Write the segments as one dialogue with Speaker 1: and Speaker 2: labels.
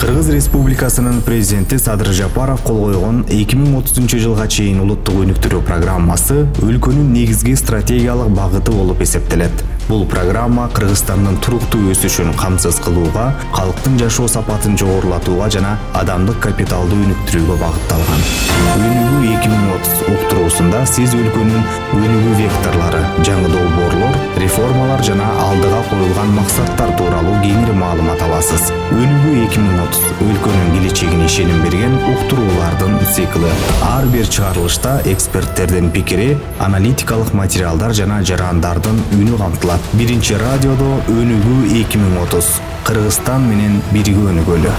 Speaker 1: Кыргыз Республикасынын президенти Садыр Жапаров кол койгон 2030-жылга чейин улуттук өнүктүрүү программасы өлкөнүн негизги стратегиялык багыты болуп эсептелет. Бул программа Кыргызстандын туруктуу өсүшүн камсыз кылууга, калктын жашоо сапатын жогорулатууга жана адамдык капиталды өнүктүрүүгө багытталган. Өнүгүү 2030 уктуруусунда сиз өлкөнүн өнүгүү векторлору, жаңы долбоорлор, реформалар жана алдыга коюлган максаттар тууралуу кеңири маалымат аласыз. Өнүгүү 2030 өлкөнүн келечегине ишеним берген уктуруулардын цикли. Ар бир чыгарылышта эксперттердин пикири, аналитикалык материалдар жана жарандардын үнү камтылат. Биринчи радиодо Өнүгүү 2030. Кыргызстан менен бирге өнүгөлү.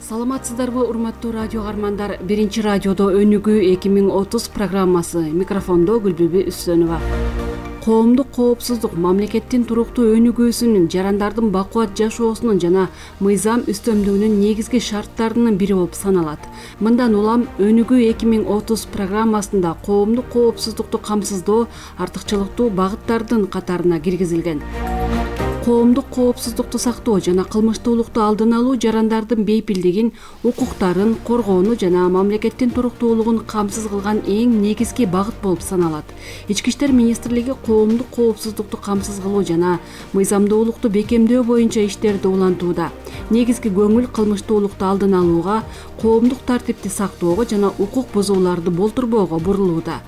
Speaker 2: Саламатсыздарбы, урматтуу радио каармандар? Биринчи радиодо Өнүгүү 2030 программасы. Микрофондо Гүлбүбү Үсөнова. Коомдук коопсуздук мамлекеттин туруктуу өнүгүүсүнүн, жарандардын бакубат жашоосунун жана мыйзам үстөмдүгүнүн негизги шарттарынын бири болуп саналат. Мындан улам Өнүгүү 2030 программасында коомдук коопсуздукту камсыздоо артыкчылыктуу багыттардын катарына киргизилген. Коомдук коопсуздукту сактоо жана кылмыштуулукту алдын алуу жарандардын бейпилдигин, укуктарын коргоону жана мамлекеттин туруктуулугун камсыз кылган эң негизги багыт болуп саналат. Ички иштер министрлиги коомдук коопсуздукту камсыз кылуу жана мыйзамдуулукту бекемдөө боюнча иштерди улантууда. Негизги көңүл кылмыштуулукту алдын алууга, коомдук тартипти сактоого жана укук бузууларды болтурбоого бурулууда.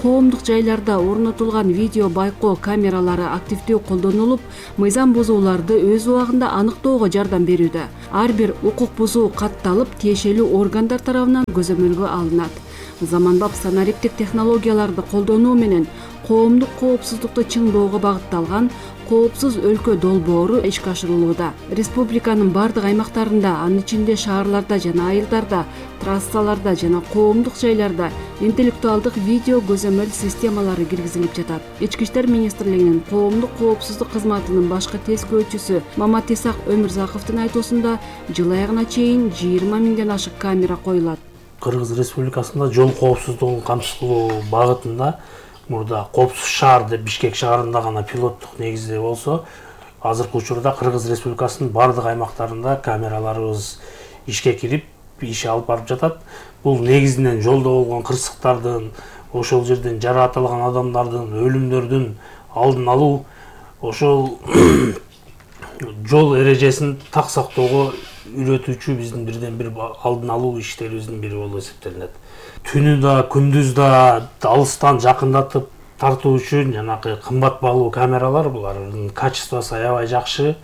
Speaker 2: Коомдук жайларда орнотулган видео байкоо камералары активдүү колдонулуп, мыйзам бузууларды өз убагында аныктоого жардам берүүдө. Ар бир укук бузуу катталып, тиешелүү органдар тарабынан көзөмөлгө алынат. Заманбап санариптик технологияларды колдонуу менен коомдук коопсуздукту чыңдоого багытталган коопсуз өлкө долбоору ишке ашырылууда. Республиканын бардык аймактарында, анын ичинде шаарларда жана айылдарда, трассаларда жана коомдук жайларда интеллектуалдык видео көзөмөл системалары киргизилип жатат. Ички иштер министрлигинин коомдук коопсуздук кызматынын башкы тескөөчүсү Маматисак Өмүрзаковдун айтуусунда жыл аягына чейин 20 миңден ашык камера коюлат.
Speaker 3: Кыргыз Республикасында жол коопсуздугун камсыз кылуу багытында мурда коопсуз шаар деп Бишкек шаарында гана пилоттук негизде болсо, азыркы учурда Кыргыз Республикасынын бардык аймактарында камераларыбыз ишке кирип, иш алып барып жатат. Бул негизинен жолдо болгон кырсыктардын, ошол жерден жаракатталган адамдардын, өлүмдөрдүн алдын алуу, ошол жол эрежесин так сактоого үйрөтүүчү биздин бирден бир алдын алуу иштерибиздин бири болуп эсептелет. Түнү да, күндүз да алыстан жакындатып тартуу үчүн жанакы кымбат баалуу камералар, булардын качествосу аябай жакшы.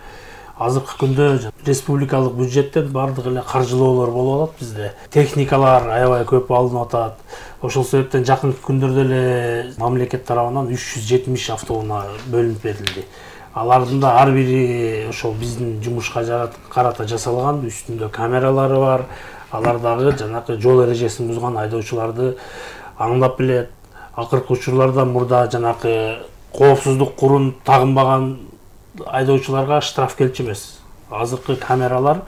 Speaker 3: Азыркы күндө республикалык бюджеттен бардык эле каржылоолор болуп атат бизде. Техникалар аябай көп алынып атат. Ошол себептен жакынкы күндөрдө эле мамлекет тарабынан 370 автоунаа бөлүнүп берилди. Алардын да ар бири ошол биздин жумушка карата жасалган, үстүндө камералары бар. Алар дагы жанакы жол эрежесин бузган айдоочуларды аңдап билет. Акыркы учурларда мурда жанакы коопсуздук курун тагынбаган айдоочуларга штраф келчү эмес. Азыркы камералар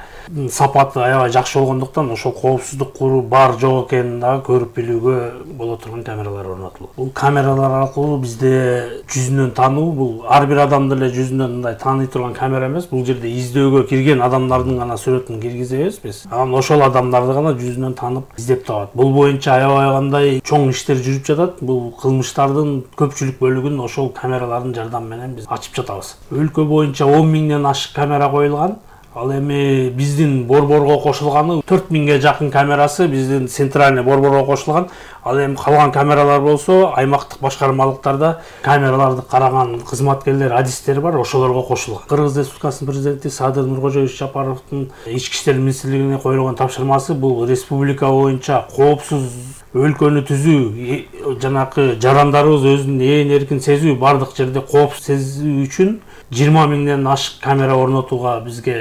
Speaker 3: сапаты аябай жакшы болгондуктан ошол коопсуздук куру бар жок экенин дагы көрүп билүүгө боло турган камералар орнотулду. Бул камералар аркылуу бизде жүзүнөн тануу, бул ар бир адамды эле жүзүнөн мындай тааный турган камера эмес. Бул жерде издөөгө кирген адамдардын гана сүрөтүн киргизебиз биз. Анан ошол адамдарды гана жүзүнөн танып издеп табат. Бул боюнча аябай кандай чоң иштер жүрүп жатат. Бул кылмыштардын көпчүлүк бөлүгүн ошол камералардын жардамы менен биз ачып жатабыз. Өлкө боюнча 10 миңден ашык камера коюлган. Ал эми биздин борборго кошулганы 4 миңге жакын камерасы биздин центральный борборго кошулган. Ал эми калган камералар болсо аймактык башкармалыктарда камераларды караган кызматкерлер, адистер бар, ошолорго кошулган. Кыргыз Республикасынын президенти Садыр Нуркожоевич Жапаровдун Ички иштер министрлигине коюлган тапшырмасы бул республика боюнча коопсуз өлкөнү түзүү, жанакы жарандарыбыз өзүн ээн эркин сезүү, бардык жерде коопсуз сезүү үчүн 20 миңден ашык камера орнотууга бизге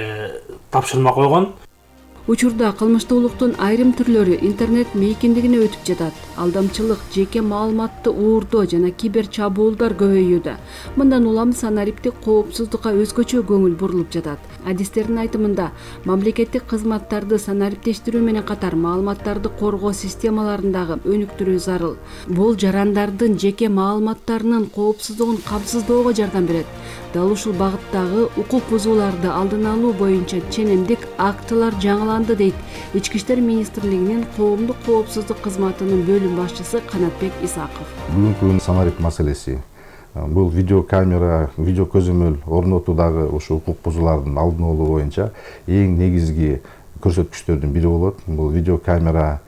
Speaker 3: тапшырма койгон.
Speaker 2: Учурда кылмыштуулуктун айрым түрлөрү интернет мейкиндигине өтүп жатат. Алдамчылык, жеке маалыматты уурдоо жана кибер чабуулдар көбөйүүдө. Мындан улам санариптик коопсуздукка өзгөчө көңүл бурулуп жатат. Адистердин айтымында, мамлекеттик кызматтарды санариптештирүү менен катар маалыматтарды коргоо системаларындагы өнүктүрүү зарыл. Бул жарандардын жеке маалыматтарынын коопсуздугун камсыздоого жардам берет. Дал ушул багыттагы укук бузууларды алдын алуу боюнча ченемдик актылар жаңыланды дейт Ички иштер министрлигинин коомдук коопсуздук кызматынын бөлүм башчысы Канатбек Исаков.
Speaker 4: Бүгүнкү күн санарип маселеси. Бул видеокамера, видео көзөмөл орнотуудагы ушу укук бузуулардын алдын алуу боюнча эң негизги көрсөткүчтөрдүн бири болот. Бул видеокамера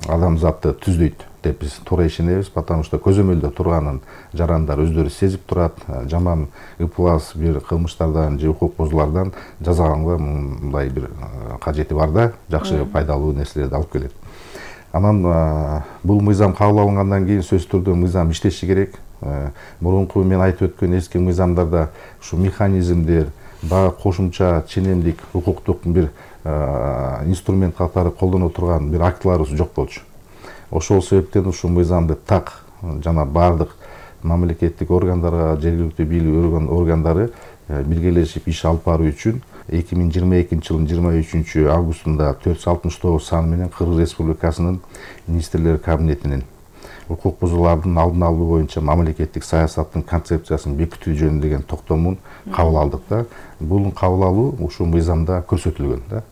Speaker 4: адамзатты түздөйт деп биз туура ишенебиз, потому что көзөмөлдө турганын жарандар өздөрү сезип турат. Жаман ыплас бир кылмыштардан же укук бузуулардан жазаганга мындай бир кажети бар да, жакшы пайдалуу нерселерди алып келет. Анан бул мыйзам кабыл алынгандан кийин сөзсүз түрдө мыйзам иштеши керек. Мурунку мен айтып өткөн эски мыйзамдарда ушу механизмдер, дагы кошумча ченемдик укуктук бир инструмент катары колдоно турган бир актыларыбыз жок болчу. Ошол себептен ушул мыйзамды так жана бардык мамлекеттик органдарга, жергиликтүү бийлик органдары биргелешип иш алып баруу үчүн 2022 жылдын 23 августунда 469 саны менен Кыргыз Республикасынын министрлер кабинетинин укук бузуулардын алдын алуу боюнча мамлекеттик саясаттын концепциясын бекитүү жөнүндөгү токтомун кабыл алдык да. Бул кабыл алуу ушул мыйзамда көрсөтүлгөн да.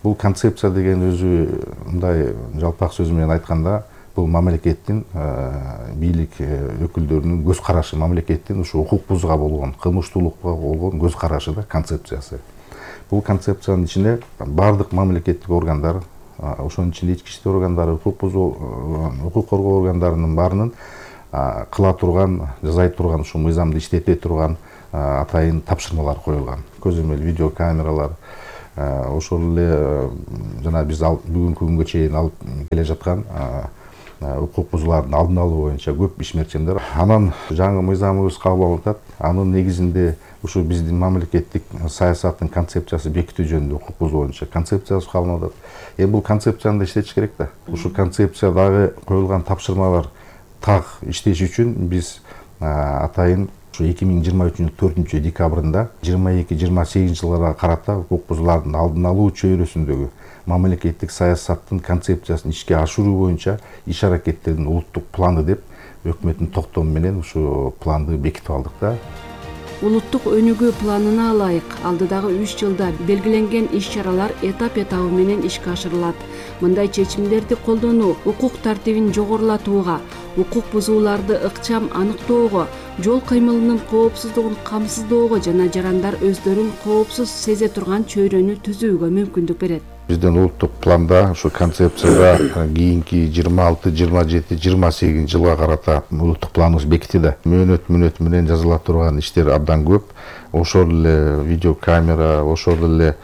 Speaker 4: Бул концепция деген өзү мындай жалпак сөз менен айтканда, бул мамлекеттин бийлик өкүлдөрүнүн көз карашы, мамлекеттин ушу укук бузууга болгон, кылмыштуулукка болгон көз карашы да, концепциясы. Бул концепциянын ичине бардык мамлекеттик органдар, ошонун ичинде ички иштер органдары, укук коргоо органдарынын баарынын кыла турган, жасай турган, ушу мыйзамды иштете турган атайын тапшырмалар коюлган. Көзөмөл видеокамералар, ошол эле жана биз бүгүнкү күнгө чейин алып келе жаткан укук бузуулардын алдын алуу боюнча көп ишмерчимдер. Анан жаңы мыйзамыбыз кабыл алынып атат. Анын негизинде ушу биздин мамлекеттик саясаттын концепциясы бекитүү жөнүндө укук бузуу боюнча концепциясы кабыл алынып атат. Бул концепцияны да иштетиш керек да. Ушу концепциядагы коюлган тапшырмалар так иштеш үчүн биз атайын 2023 4 декабрында 22-28 жылдарга карата укук бузуулардын алдын алуу чөйрөсүндөгү мамлекеттик саясаттын концепциясын ишке ашыруу боюнча иш аракеттердин улуттук планы деп өкмөттүн токтому менен ушу планды бекитип алдык да.
Speaker 2: Улуттук өнүгүү планына ылайык алдыдагы 3 жылда белгиленген иш-чаралар этап-этабы менен ишке ашырылат. Мындай чечимдерди колдонуу укук тартибин жогорулатууга, укук бузууларды ыкчам аныктоого, жол кыймылынын коопсуздугун камсыздоого жана жарандар өздөрүн коопсуз сезе турган чөйрөнү түзүүгө мүмкүндүк берет.
Speaker 4: Биздин улуттук планда ушу концепцияда кийинки 26, 27, 28 жылга карата улуттук планыбыз бекитилди. Мөөнөт менен жазыла турган иштер абдан көп. Ошол эле видеокамера, ошол эле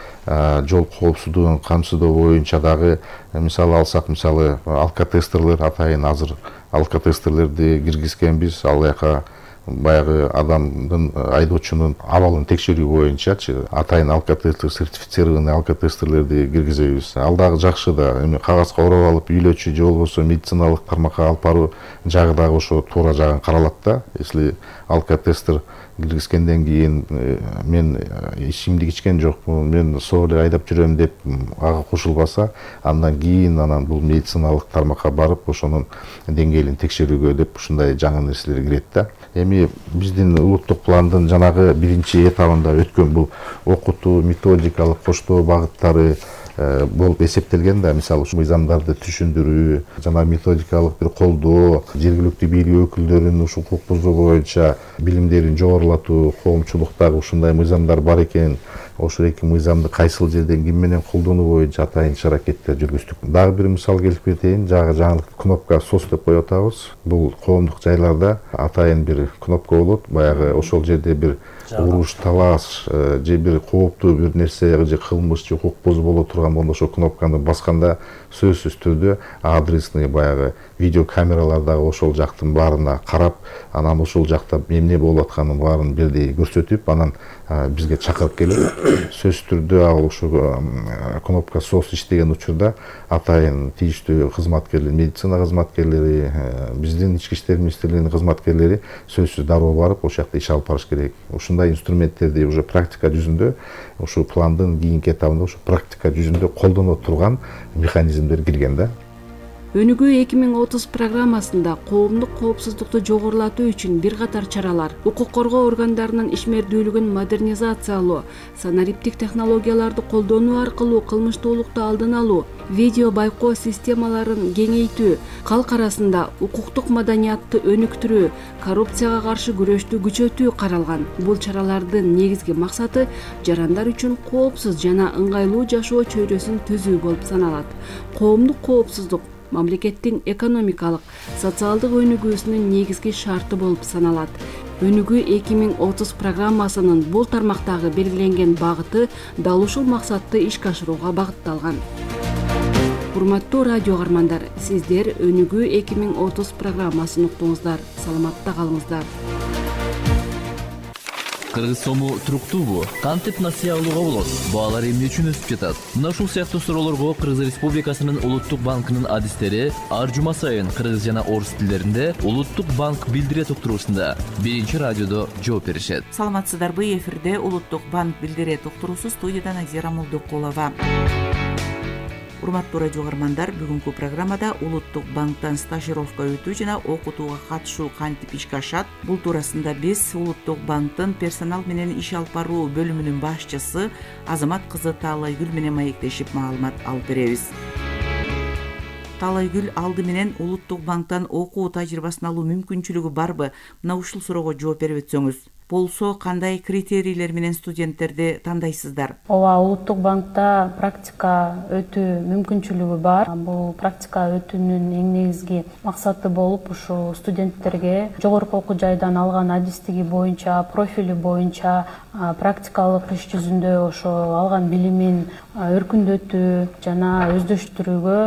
Speaker 4: жол коопсуздугун камсыздоо боюнча дагы мисалы алсак, мисалы алкотестерлер, атайын азыр алкотестерлерди киргизкенбиз. Ал жака баягы адамдын, айдоочунун абалын текшерүү боюнчачы атайын алкотестер, сертифицированный алкотестерлерди киргизебиз. Ал дагы жакшы да, эми кагазга ороп алып үйлөчү же болбосо медициналык тармакка алып баруу жагы дагы ошо туура жагын каралат да. Если алкотестер киргизгенден кийин мен ичимдик ичкен жокмун, мен соо эле айдап жүрөм деп ага кошулбаса, андан кийин бул медициналык тармакка барып ошонун деңгээлин текшерүүгө деп ушундай жаңы нерселер кирет да. Эми биздин улуттук пландын жанагы биринчи этабында өткөн бул окутуу, методикалык коштоо багыттары болуп эсептелген да. Мисалы ушу мыйзамдарды түшүндүрүү жана методикалык бир колдоо, жергиликтүү бийлик өкүлдөрүнүн ушу укук бузуу боюнча билимдерин жогорулатуу, коомчулуктагы ушундай мыйзамдар бар экен, ошол эки мыйзамды кайсыл жерден ким менен колдонуу боюнча атайын иш аракеттер жүргүздүк. Дагы бир мисал келип кетейин, жаңылык кнопка SOS деп коюп атабыз. Бул коомдук жайларда атайын бир кнопка болот. Баягы ошол жерде бир уруш, талаш же бир кооптуу бир нерсе же кылмыш же укук бузуу боло турган болсо ошол кнопканы басканда сөзсүз түрдө адресный баягы видео камералар дагы ошол жактын баарына карап, анан ошол жакта эмне болуп атканын баарын бирдей көрсөтүп, анан бизге чакырып келет. Сөзсүз түрдө ал ошо кнопка SOS иштеген учурда атайын тийиштүү кызматкерлер, медицина кызматкерлери, биздин ички иштер министрлигинин кызматкерлери сөзсүз дароо барып ошол жакта иш алып барыш керек. Ушундай инструменттерди уже практика жүзүндө, ошо пландын кийинки этабында ошо практика жүзүндө колдоно турган механизмдер кирген да.
Speaker 2: Өнүгүү 2030 программасында коомдук коопсуздукту жогорулатуу үчүн бир катар чаралар, укук коргоо органдарынын ишмердүүлүгүн модернизациялоо, санариптик технологияларды колдонуу аркылуу кылмыштуулукту алдын алуу, видео байкоо системаларын кеңейтүү, калк арасында укуктук маданиятты өнүктүрүү, коррупцияга каршы күрөштү күчөтүү каралган. Бул чаралардын негизги максаты жарандар үчүн коопсуз жана ыңгайлуу жашоо чөйрөсүн түзүү болуп саналат. Коомдук коопсуздук мамлекеттин экономикалык, социалдык өнүгүүсүнүн негизги шарты болуп саналат. Өнүгүү 2030 программасынын бул тармактагы белгиленген багыты дал ушул максатты ишке ашырууга багытталган. Урматтуу радио каармандар, сиздер Өнүгүү 2030 программасын уктуңуздар. Саламатта калыңыздар.
Speaker 5: Кыргыз сому туруктуубу? Кантип насыя алууга болот? Баалар эмне үчүн өсүп жатат? Мына ушул сыяктуу суроолорго Кыргыз Республикасынын Улуттук банкынын адистери ар жума сайын кыргыз жана орус тилдеринде Улуттук банк билдирет уктуруусунда биринчи радиодо жооп беришет.
Speaker 6: Саламатсыздарбы? Эфирде Улуттук банк билдирет уктуруусу, студияда Назира Молдокулова. Урматтуу радио каармандар, бүгүнкү программада Улуттук банктан стажировка өтүү жана окутууга катышуу кантип ишке ашат? Бул туурасында биз Улуттук банктын персонал менен иш алып баруу бөлүмүнүн башчысы Азамат кызы Таалайгүл менен маектешип маалымат алып беребиз. Таалайгүл, алды менен Улуттук банктан окуу тажрыйбасын алуу мүмкүнчүлүгү барбы? Мына ушул суроого жооп берип өтсөңүз. Болсо, кандай критерийлер менен студенттерди тандайсыздар?
Speaker 7: Ооба, Улуттук банкта практика өтүү мүмкүнчүлүгү бар. Бул практика өтүүнүн эң негизги максаты болуп, ушу студенттерге жогорку окуу жайдан алган адистиги боюнча, профили боюнча практикалык иш жүзүндө ошо алган билимин өркүндөтүү жана өздөштүрүүгө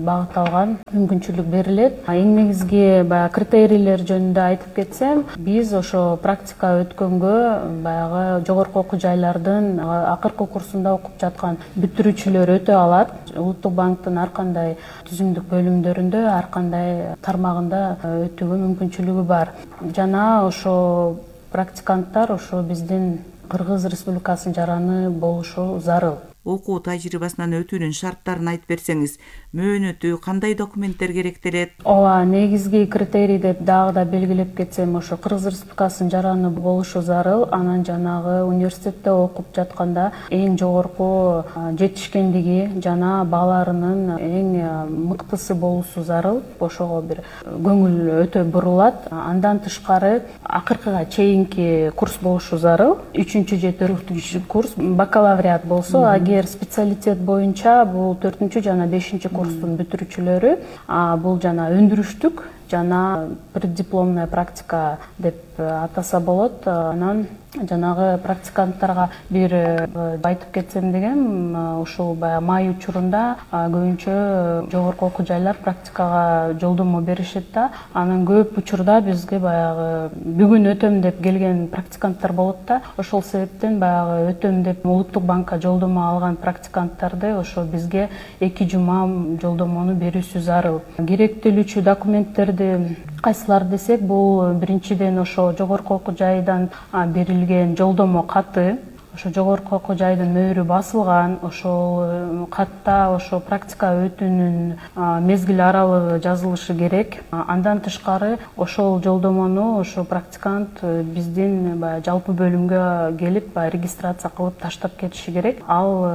Speaker 7: багытталган мүмкүнчүлүк берилет. Эң негизги критерийлер жөнүндө айтып кетсем, биз ошо практика өткөнгө баягы жогорку окуу жайлардын акыркы курсунда окуп жаткан бүтүрүүчүлөр өтө алат. Улуттук банктын ар кандай түзүмдүк бөлүмдөрүндө, ар кандай тармагында өтүүгө мүмкүнчүлүгү бар. Жана ошо практиканттар ошо биздин Кыргыз Республикасынын жараны болушу зарыл.
Speaker 6: Окуу тажрыйбасынан өтүүнүн шарттарын айтып берсеңиз, мөөнөтү кандай документтер керектелет?
Speaker 7: Ооба, негизги критерий деп дагы да белгилеп кетсем, ошо Кыргыз Республикасынын жараны болушу зарыл. Анан жанагы университетте окуп жатканда эң жогорку жетишкендиги жана баларынын эң мыктысы болуусу зарыл. Ошого бир көңүл өтө бурулат. Андан тышкары акыркыга чейинки курс болушу зарыл. 3-же 4-чү курс бакалавриат болсо, специалитет боюнча бул 4-чү жана 5-чи курстун бүтүрүүчүлөрү, бул жана өндүрүштүк жана преддипломная практика деп атаса болот. Анан жанагы практиканттарга бир айтып кетсем дегем, ушул май учурунда көбүнчө жогорку окуу жайлар практикага жолдомо беришет да. Анан көп учурда бизге баягы бүгүн өтөм деп келген практиканттар болот да. Ошол себептен баягы өтөм деп Улуттук банкка жолдомо алган практиканттарды ошо бизге 2 жума жолдомону берүүсү зарыл. Керектелүүчү документтерди кайсылар десек, бул биринчиден ошо жогорку окуу жайдан берилген жолдомо каты, ошо жогорку окуу жайдын мөөрү басылган, ошол катта ошо практика өтүүнүн мезгил аралыгы жазылышы керек. Андан тышкары ошол жолдомону ошо практикант биздин жалпы бөлүмгө келип регистрация кылып таштап кетиши керек. Ал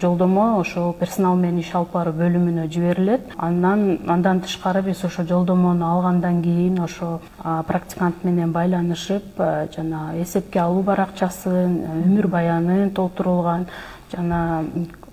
Speaker 7: жолдомо ошо персонал менен иш алып баруу бөлүмүнө жиберилет. Андан тышкары биз ошо жолдомону алгандан кийин ошо практикант менен байланышып, жана эсепке алуу баракчасын, өмүр баянын толтурулган жана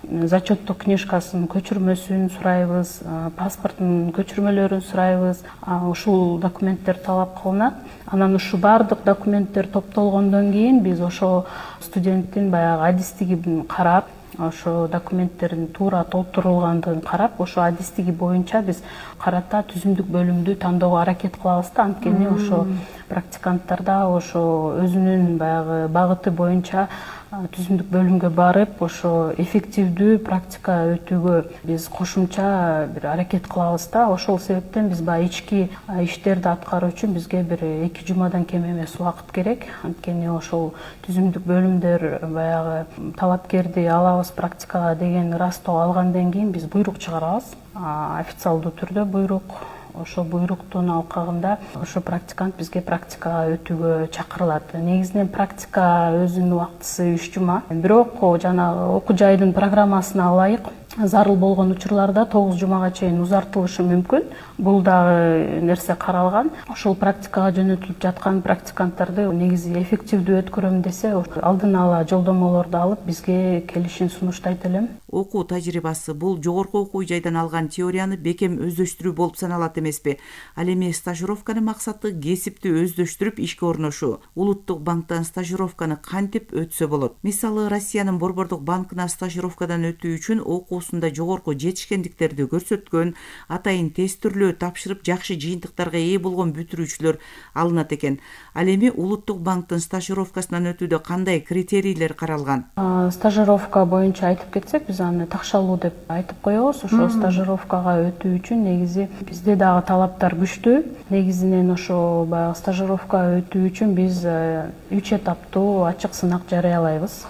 Speaker 7: зачеттук книжкасынын көчүрмөсүн сурайбыз, паспорттун көчүрмөлөрүн сурайбыз. Ушул документтер талап кылынат. Анан ушу баардык документтер топтолгондон кийин биз ошо студенттин баягы адистигин карап, ошо документтердин туура толтурулгандыгын карап, ошо адистиги боюнча биз карата түзүмдүк бөлүмдү тандоого аракет кылабыз да. Анткени ошо практиканттарда ошо өзүнүн баягы багыты боюнча түзүмдүк бөлүмгө барып, ошо эффективдүү практика өтүүгө биз кошумча бир аракет кылабыз да. Ошол себептен биз баягы ички иштерди аткаруу үчүн бизге бир 2 жумадан кем эмес убакыт керек. Анткени ошол түзүмдүк бөлүмдөр баягы талапкерди алабыз практикага деген ырастоо алгандан кийин биз буйрук чыгарабыз. Официалдуу түрдө буйрук. Ошо буйруктун алкагында ошо практикант бизге практикага өтүүгө чакырылат. Негизинен практика өзүнүн убактысы 3 жума. Бирок жанагы окуу жайдын программасына ылайык зарыл болгон учурларда 9 жумага чейин узартылышы мүмкүн. Бул дагы нерсе каралган. Ошол практикага жөнөтүлүп жаткан практиканттарды негизи эффективдүү өткөрөм десе, алдын ала жолдомолорду алып бизге келишин сунуштайт элем.
Speaker 6: Окуу тажрыйбасы бул жогорку окуу жайдан алган теорияны бекем өздөштүрүү болуп саналат эмеспи? Ал эми стажировканын максаты кесипти өздөштүрүп ишке орношуу. Улуттук банктан стажировканы кантип өтсө болот? Мисалы, Россиянын Борбордук банкына стажировкадан өтүү үчүн окуусунда жогорку жетишкендиктерди көрсөткөн, атайын тест түрлөө тапшырып жакшы жыйынтыктарга ээ болгон бүтүрүүчүлөр алынат экен. Ал эми Улуттук банктын стажировкасынан өтүүдө кандай критерийлер каралган?
Speaker 7: Стажировка боюнча айтып кетсек, биз аны такшалуу деп айтып коебуз. Ошо стажировкага өтүү үчүн негизи бизде дагы талаптар күчтүү. Негизинен ошо баягы стажировка өтүү үчүн биз 3 этаптуу ачык сынак жарыялайбыз.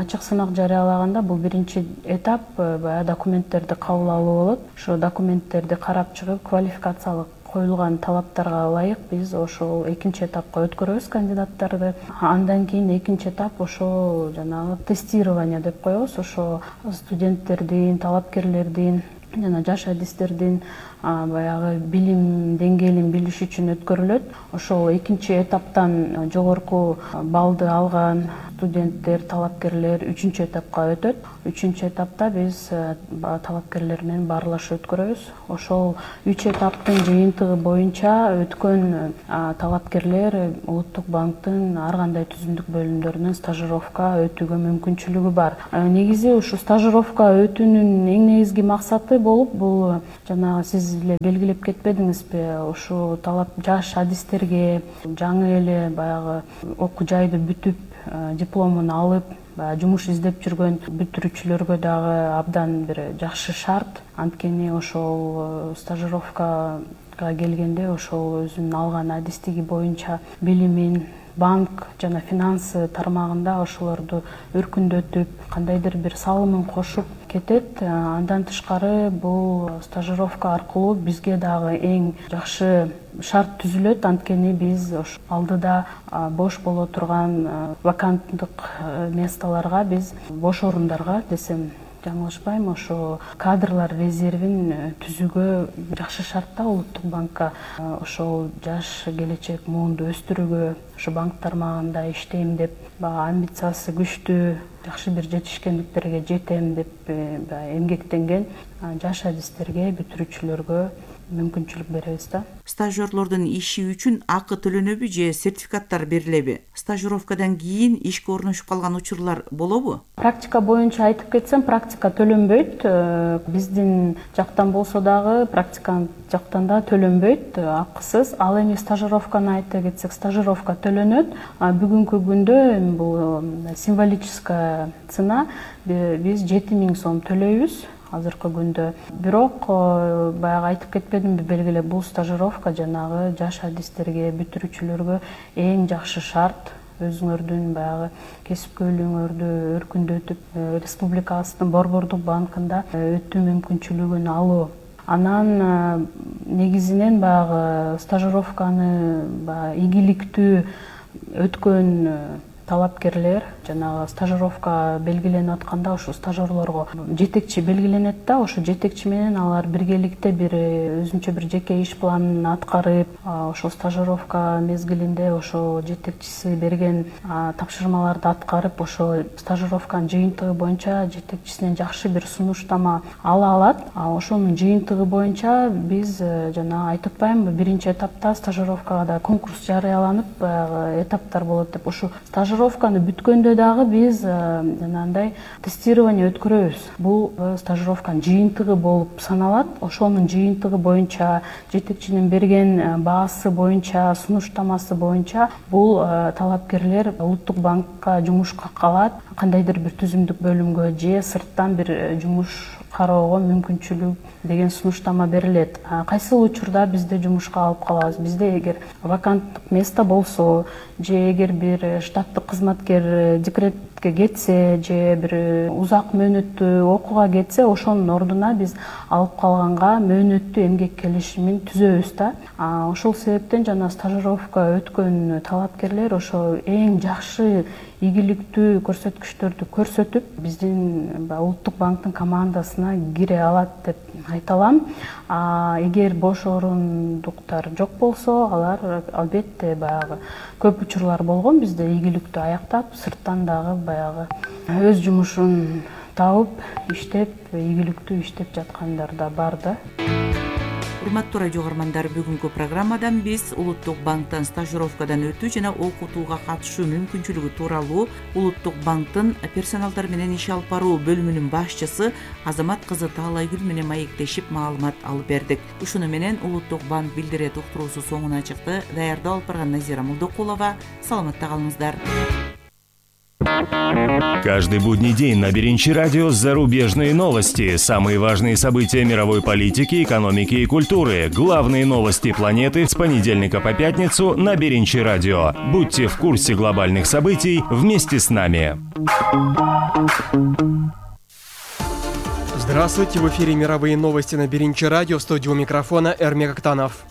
Speaker 7: Ачык сынак жарыялаганда бул биринчи этап баягы документтерди кабыл алуу болот. Ошо документтерди карап чыгып, квалификациялык коюлган талаптарга ылайык биз ошол экинчи этапка өткөрөбүз кандидаттарды. Андан кийин экинчи этап ошо жанагы тестирование деп коебуз. Ошо студенттердин, талапкерлердин жана жаш адистердин баягы билим деңгээлин билиш үчүн өткөрүлөт. Ошол экинчи этаптан жогорку баллды алган студенттер, талапкерлер 3-чү этапка өтөт. 3-чү этапта биз талапкерлер менен баарлашуу өткөрөбүз. Ошол 3 этаптын жыйынтыгы боюнча өткөн талапкерлер Улуттук банктын ар кандай түзүмдүк бөлүмдөрүнөн стажировка өтүүгө мүмкүнчүлүгү бар. Негизи ушу стажировка өтүүнүн эң негизги максаты болуп, бул жанагы сиз эле белгилеп кетпедиңизби, ушу жаш адистерге жаңы эле баягы окуу жайды бүтүп дипломун алып жумуш издеп жүргөн бүтүрүүчүлөргө дагы абдан бир жакшы шарт. Анткени ошол стажировкага келгенде ошол өзүнүн алган адистиги боюнча билимин банк жана финансы тармагында ошолорду өркүндөтүп, кандайдыр бир салымын кошуп кетет. Андан тышкары бул стажировка аркылуу бизге дагы эң жакшы шарт түзүлөт. Анткени биз алдыда бош боло турган ваканттык месталарга, биз бош орундарга десем жаңылышпайм, ошо кадрлар резервин түзүүгө жакшы шартта Улуттук банкка ошол жаш келечек муунду өстүрүүгө, ошо банк тармагында иштейм деп, амбициясы күчтүү, жакшы бир жетишкендиктерге жетем деп эмгектенген жаш адистерге, бүтүрүүчүлөргө мүмкүнчүлүк беребиз да.
Speaker 6: Стажерлордун иши үчүн акы төлөнөбү же сертификаттар берилеби? Стажировкадан кийин ишке орношуп калган учурлар болобу?
Speaker 7: Практика боюнча айтып кетсем, практика төлөнбөйт. Биздин жактан болсо дагы, практикант жактан да төлөнбөйт, акысыз. Ал эми стажировканы айта кетсек, стажировка төлөнөт. Бүгүнкү күндө бул символическая цена, биз 7000 сом төлөйбүз азыркы күндө. Бирок баягы айтып кетпедимби, белгилеп, бул стажировка жанагы жаш адистерге, бүтүрүүчүлөргө эң жакшы шарт. Өзүңөрдүн баягы кесипкөйлүгүңөрдү өркүндөтүп, республикабыздын Борбордук банкында өтүү мүмкүнчүлүгүн алуу. Анан негизинен баягы стажировканы игиликтүү өткөн талапкерлер жанагы стажировка белгиленип атканда ошо стажерлорго жетекчи белгиленет да, ошо жетекчи менен алар биргеликте бир өзүнчө бир жеке иш планын аткарып, ошо стажировка мезгилинде ошо жетекчиси берген тапшырмаларды аткарып, ошо стажировканын жыйынтыгы боюнча жетекчисинен жакшы бир сунуштама ала алат. Ошонун жыйынтыгы боюнча биз жана айтып атпаймынбы, биринчи этапта стажировкага да конкурс жарыяланып, баягы этаптар болот деп. Ошо стажировканы бүткөндө дагы биз жанагындай тестирование өткөрөбүз. Бул стажировканын жыйынтыгы болуп саналат. Ошонун жыйынтыгы боюнча, жетекчинин берген баасы боюнча, сунуштамасы боюнча бул талапкерлер Улуттук банкка жумушка калат, кандайдыр бир түзүмдүк бөлүмгө же сырттан бир жумуш кароого мүмкүнчүлүк деген сунуштама берилет. Кайсыл учурда бизде жумушка алып калабыз? Бизде эгер ваканттык место болсо, же эгер бир штаттык кызматкер декретке кетсе, же бир узак мөөнөттүү окууга кетсе, ошонун ордуна биз алып калганга мөөнөттүү эмгек келишимин түзөбүз да. Ошол себептен жана стажировка өткөн талапкерлер ошо эң жакшы ийгиликтүү көрсөткүчтөрдү көрсөтүп, биздин Улуттук банктын командасына кире алат деп айта алам. Эгер бош орундуктар жок болсо, алар албетте баягы көп учурлар болгон бизде ийгиликтүү аяктап, сырттан дагы баягы өз жумушун табып, иштеп, ийгиликтүү иштеп жаткандар да бар да.
Speaker 6: Урматтуу радио каармандар, бүгүнкү программадан биз Улуттук банктан стажировкадан өтүү жана окутууга катышуу мүмкүнчүлүгү тууралуу Улуттук банктын персоналдар менен иш алып баруу бөлүмүнүн башчысы Азамат кызы Таалайгүл менен маектешип маалымат алып бердик. Ушуну менен Улуттук банк билдирет уктуруусу соңуна чыкты. Даярдап алып барган Назира Молдокулова. Саламатта калыңыздар.
Speaker 8: Каждый будний день на Беринчи радио зарубежные новости, самые важные события мировой политики, экономики и культуры, главные новости планеты с понедельника по пятницу на Беринчи радио. Будьте в курсе глобальных событий вместе с нами.
Speaker 9: Здравствуйте, в эфире мировые новости на Беринчи радио, в студии у микрофона Эрмек Актанов.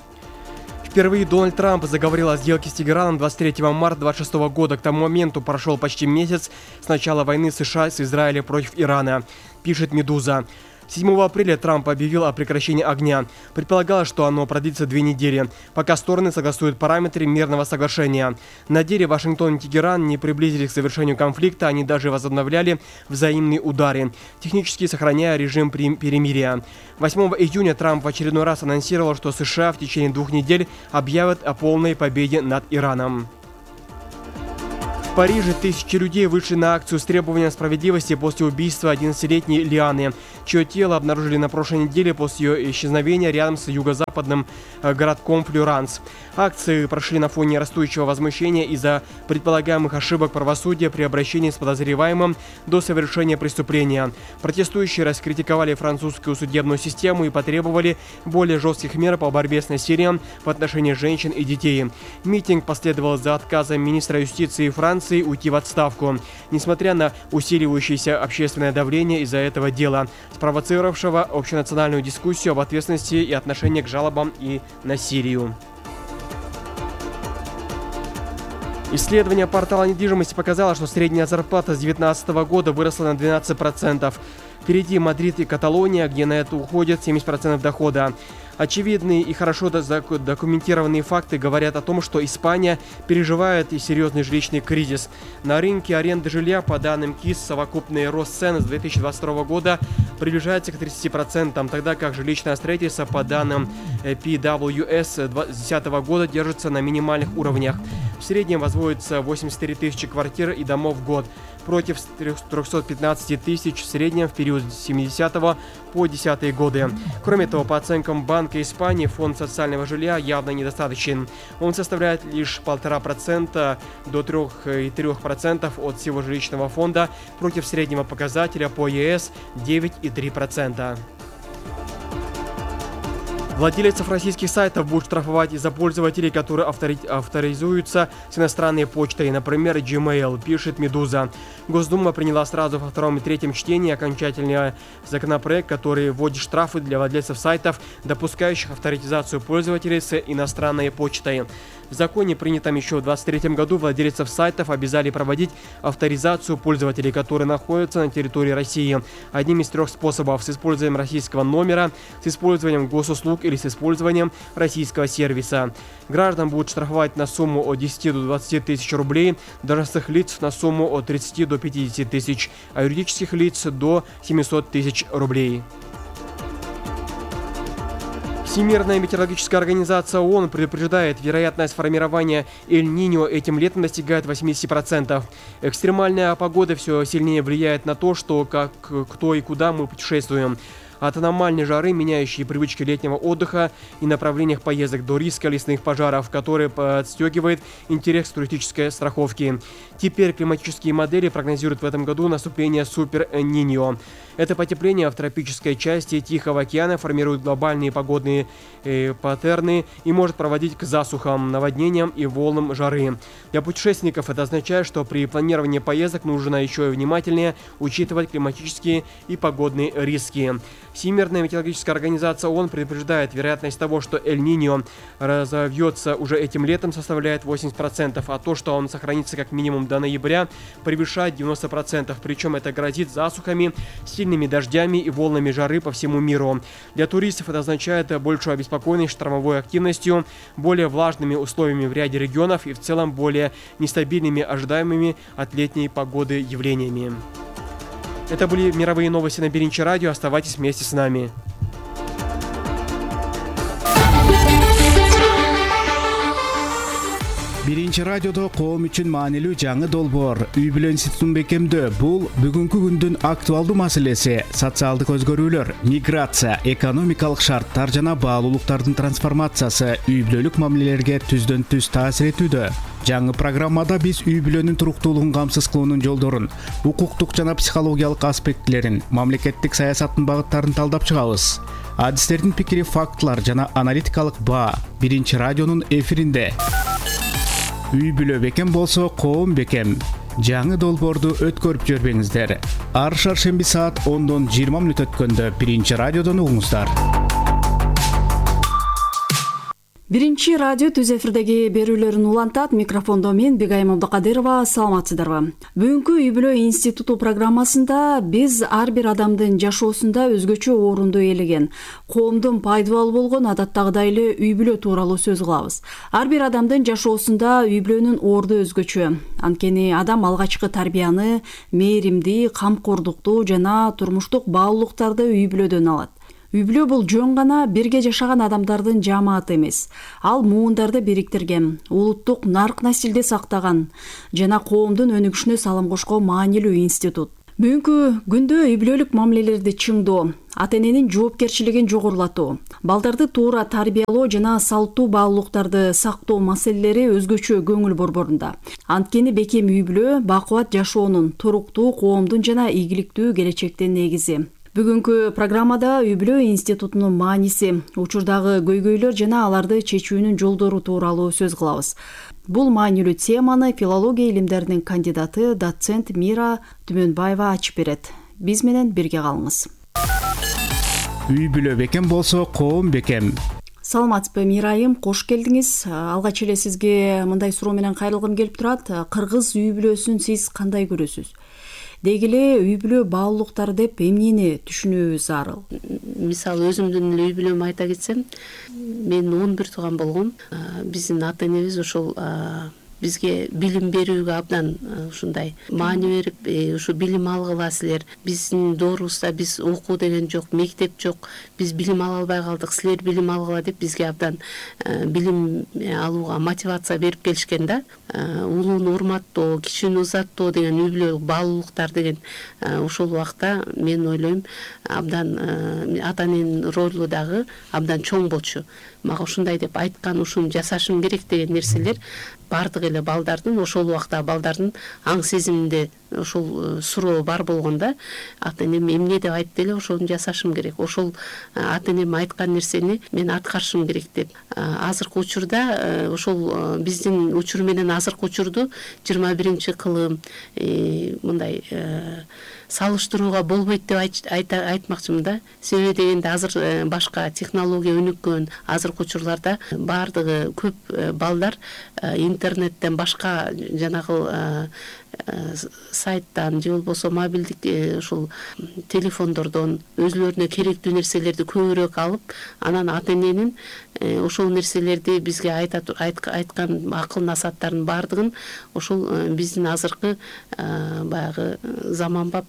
Speaker 9: Впервые Дональд Трамп заговорил о сделке с Тегераном 23 марта 2026 года. К тому моменту прошел почти месяц с начала войны США с Израилем против Ирана, пишет «Медуза». 7 апреля Трамп объявил о прекращении огня. Предполагалось, что оно продлится 2 недели, пока стороны согласуют параметры мирного соглашения. На деле Вашингтон и Тегеран не приблизились к завершению конфликта, они даже возобновляли взаимные удары, технически сохраняя режим перемирия. 8 июня Трамп в очередной раз анонсировал, что США в течение 2 недель объявят о полной победе над Ираном. В Париже тысячи людей вышли на акцию с требованием справедливости после убийства 11-летней Лианы, чье тело обнаружили на прошлой неделе после ее исчезновения рядом с юго-западным городком Флюранс. Акции прошли на фоне растущего возмущения из-за предполагаемых ошибок правосудия при обращении с подозреваемым до совершения преступления. Протестующие раскритиковали французскую судебную систему и потребовали более жестких мер по борьбе с насилием в отношении женщин и детей. Митинг последовал за отказом министра юстиции Франции уйти в отставку, несмотря на усиливающееся общественное давление из-за этого дела, спровоцировавшего общенациональную дискуссию об ответственности и отношении к жалобам и насилию. Исследование портала недвижимости показало, что средняя зарплата с 2019 года выросла на 12%. Впереди Мадрид и Каталония, где на это уходит 70% дохода. Очевидные и хорошо документированные факты говорят о том, что Испания переживает и серьезный жилищный кризис. На рынке аренды жилья, по данным КИС, совокупный рост цен с 2022 года приближается к 30%, тогда как жилищное строительство, по данным PWS 2010 года, держится на минимальных уровнях. В среднем возводится 83 тысячи квартир и домов в год, против 315 тысяч в среднем в период с 70 по 10 годы. Кроме того, по оценкам Банка Испании, фонд социального жилья явно недостаточен. Он составляет лишь 1,5% до 3,3% от всего жилищного фонда, против среднего показателя по ЕС 9,3%. Владельцев российских сайтов будут штрафовать из-за пользователей, которые авторизуются с иностранной почтой, например, Gmail, пишет «Медуза». Госдума приняла сразу во втором и третьем чтении окончательный законопроект, который вводит штрафы для владельцев сайтов, допускающих авторизацию пользователей с иностранной почтой. В законе, принятом еще в 2023 году, владельцев сайтов обязали проводить авторизацию пользователей, которые находятся на территории России. Одним из 3 способов: с использованием российского номера, с использованием госуслуг или с использованием российского сервиса. Граждан будут штрафовать на сумму от 10 до 20 тысяч рублей, должностных лиц на сумму от 30 до 50 тысяч, а юридических лиц до 700 тысяч рублей. Всемирная метеорологическая организация ООН предупреждает, вероятность формирования Эль-Ниньо этим летом достигает 80%. Экстремальная погода все сильнее влияет на то, что, как, кто и куда мы путешествуем. От аномальной жары, меняющей привычки летнего отдыха и направлениях поездок, до риска лесных пожаров, который подстегивает интерес к туристической страховке. Теперь климатические модели прогнозируют в этом году наступление супер-Ниньо. Это потепление в тропической части Тихого океана формирует глобальные погодные паттерны и может проводить к засухам, наводнениям и волнам жары. Для путешественников это означает, что при планировании поездок нужно еще и внимательнее учитывать климатические и погодные риски. Всемирная метеорологическая организация ООН предупреждает, вероятность того, что Эль-Ниньо разовьется уже этим летом, составляет 80%, а то, что он сохранится как минимум до ноября, превышает 90%. Причем это грозит засухами, сильными дождями и волнами жары по всему миру. Для туристов это означает большую обеспокоенность штормовой активностью, более влажными условиями в ряде регионов и в целом более нестабильными ожидаемыми от летней погоды явлениями. Это были мировые новости на Биринчи радио. Оставайтесь вместе с нами.
Speaker 10: Биринчи радиодо коом үчүн маанилүү жаңы долбоор үй бүлө институтун бекемдөө. Бул бүгүнкү күндүн актуалдуу маселеси. Социалдык өзгөрүүлөр, миграция, экономикалык шарттар жана баалуулуктардын трансформациясы үй бүлөлүк мамилелерге түздөн түз таасир этүүдө. Жаңы программада биз үй бүлөнүн туруктуулугун камсыз кылуунун жолдорун, укуктук жана психологиялык аспектилерин, мамлекеттик саясаттын багыттарын талдап чыгабыз. Адистердин пикири, фактылар жана аналитикалык баа Биринчи радионун эфиринде. Үй бүлө бекем болсо, коом бекем. Жаңы долбоорду өткөрүп жүрбөңүздөр. Ар шаршемби саат 10-дон 20 мүнөт өткөндө Биринчи радиодон угуңуздар.
Speaker 2: Биринчи радио түз эфирдеги берүүлөрүн улантат. Микрофондо мен Бегайым Абдыкадырова. Саламатсыздарбы? Бүгүнкү үй бүлө институту программасында биз ар бир адамдын жашоосунда өзгөчө орунду ээлеген, коомдун пайдалуу болгон адаттагыдай эле үй бүлө тууралуу сөз кылабыз. Ар бир адамдын жашоосунда үй бүлөнүн орду өзгөчө. Анткени адам алгачкы тарбияны, мээримди, камкордукту жана турмуштук баалуулуктарды үй бүлөдөн алат. Үй бүлө бул жөн гана бирге жашаган адамдардын жамааты эмес. Ал муундарды бириктирген, улуттук нарк насилди сактаган жана коомдун өнүгүшүнө салым кошкон маанилүү институт. Бүгүнкү күндө үй бүлөлүк мамилелерди чыңдоо, ата-эненин жоопкерчилигин жогорулатуу, балдарды туура тарбиялоо жана салттуу баалуулуктарды сактоо маселелери өзгөчө көңүл борборунда. Анткени бекем үй бүлө бакубат жашоонун, туруктуу коомдун жана ийгиликтүү келечектин негизи. Бүгүнкү программада үй бүлө институтунун мааниси, учурдагы көйгөйлөр жана аларды чечүүнүн жолдору тууралуу сөз кылабыз. Бул маанилүү теманы филология илимдеринин кандидаты, доцент Мира Түмөнбаева ачып берет. Биз менен бирге калыңыз.
Speaker 10: Үй бүлө бекем болсо, коом бекем.
Speaker 2: Саламатсызбы, Мирайым, кош келдиңиз. Алгач эле сизге мындай суроо менен кайрылгым келип турат. Кыргыз үй бүлөсүн сиз кандай көрөсүз? Деги эле үй бүлө баалуулуктары деп эмнени түшүнүүбүз зарыл?
Speaker 11: Мисалы өзүмдүн үй бүлөмдү айта кетсем, мен 11 тууган болгом. Биздин ата-энебиз ошол бизге билим берүүгө абдан ушундай маани берип, ушу билим алгыла силер. Биздин доорубузда биз окуу деген жок, мектеп жок, биз билим ала албай калдык, силер билим алгыла деп бизге абдан билим алууга мотивация берип келишкен да. Улууну урматтоо, кичүүнү узаттоо деген үй бүлөлүк баалуулуктар деген ошол убакта мен ойлойм абдан ата-эненин ролу дагы абдан чоң болчу. Мага ушундай деп айткан, ушуну жасашым керек деген нерселер бардык эле балдардын, ошол убакта балдардын аң сезиминде ошол суроо бар болгондо ата энем эмне деп айтты эле ошону жасашым керек, ошол ата энем айткан нерсени мен аткарышым керек деп. Азыркы учурда ошол биздин учур менен азыркы учурду 21-кылым мындай салыштырууга болбойт деп айтмакчымын да. Себеби дегенде азыр башка технология өнүккөн, азыркы учурларда баардыгы көп балдар интернеттен башка жанагы сайттан же болбосо мобилдик ушул телефондордон өзүлөрүнө керектүү нерселерди көбүрөөк алып, анан ата эненин ошол нерселерди бизге айткан акыл насааттардын баардыгын ошол биздин азыркы баягы заманбап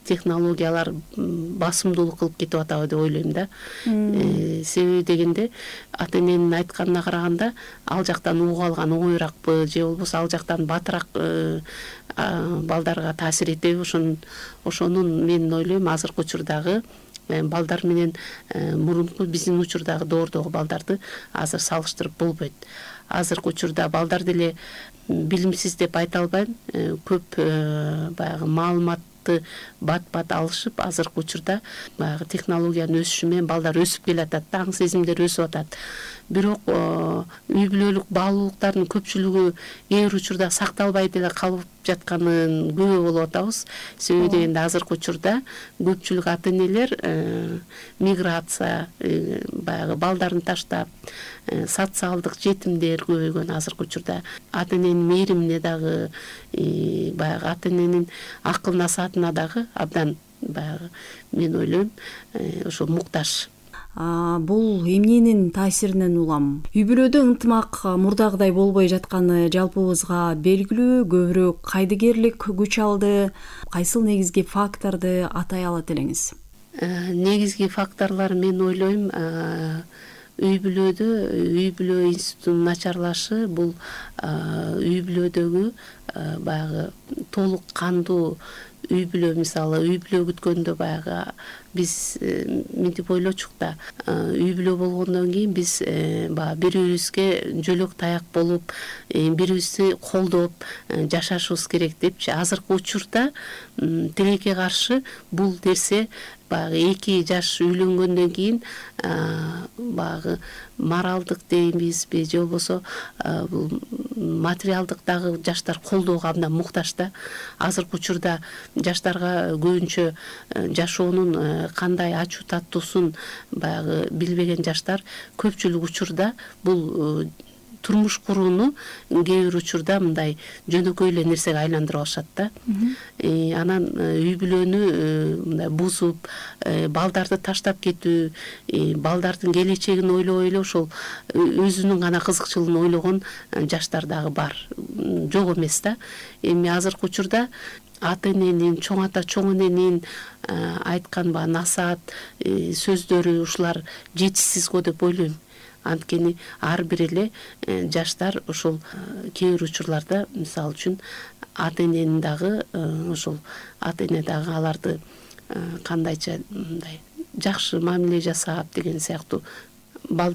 Speaker 11: технологиялар басымдуулук кылып кетип атабы деп ойлойм да. Себеби дегенде ата эненин айтканына караганда ал жактан угуп алган оңоюраакпы же болбосо ал жактан батыраак балдарга таасир этеби, ошонун мен ойлойм азыркы учурдагы балдар менен мурунку биздин учурдагы доордогу балдарды азыр салыштырып болбойт. Азыркы учурда балдар деле билимсиз деп айта албайм, көп баягы маалыматты бат-бат алышып, азыркы учурда баягы технологиянын өсүшү менен балдар өсүп келатат, таң сезимдер өсүп атат. Бирок үй бүлөлүк баалуулуктардын көпчүлүгү кээ бир учурда сакталбай деле калып жатканын күбө болуп атабыз. Себеби дегенде азыркы учурда көпчүлүк ата энелер миграция, баягы балдарын таштап, социалдык жетимдер көбөйгөн азыркы учурда. Ата эненин мээримине дагы, баягы ата эненин акыл насаатына дагы абдан баягы мен ойлойм ошо муктаж.
Speaker 2: Бул эмненин таасиринен улам? Үй бүлөдө ынтымак мурдагыдай болбой жатканы жалпыбызга белгилүү, көбүрөөк кайдыгерлик күч алды. Кайсыл негизги факторду атай алат элеңиз?
Speaker 11: Негизги факторлор мен ойлойм үй бүлө институтунун начарлашы, бул үй бүлөдөгү баягы толук кандуу үй бүлө, мисалы үй бүлө күткөндө баягы биз мынтип ойлочук да, үй бүлө болгондон кийин биз баягы бири-бирибизге жөлөк таяк болуп, бири-бирибизди колдоп жашашыбыз керек депчи. Азыркы учурда тилекке каршы бул нерсе баягы 2 жаш үйлөнгөндөн кийин баягы моралдык дейбизби же болбосо бул материалдык дагы жаштар колдоого абдан муктаж да. Азыркы учурда жаштарга көбүнчө жашоонун кандай ачуу таттуусун баягы билбеген жаштар көпчүлүк учурда бул турмуш курууну кээ бир учурда мындай жөнөкөй эле нерсеге айландырып алышат да. Анан үй бүлөнү мындай бузуп, балдарды таштап кетүү, балдардын келечегин ойлобой эле ошол өзүнүн гана кызыкчылыгын ойлогон жаштар дагы бар. Жок эмес да. Эми азыркы учурда ата эненин, чоң ата, чоң эненин айткан насаат сөздөрү ушулар жетишсиз го деп ойлойм. Анткени ар бир эле жаштар ошол кээ бир учурларда мисалы үчүн ата эненин дагы ошол ата эне дагы аларды кандайча мындай жакшы мамиле жасап деген сыяктуу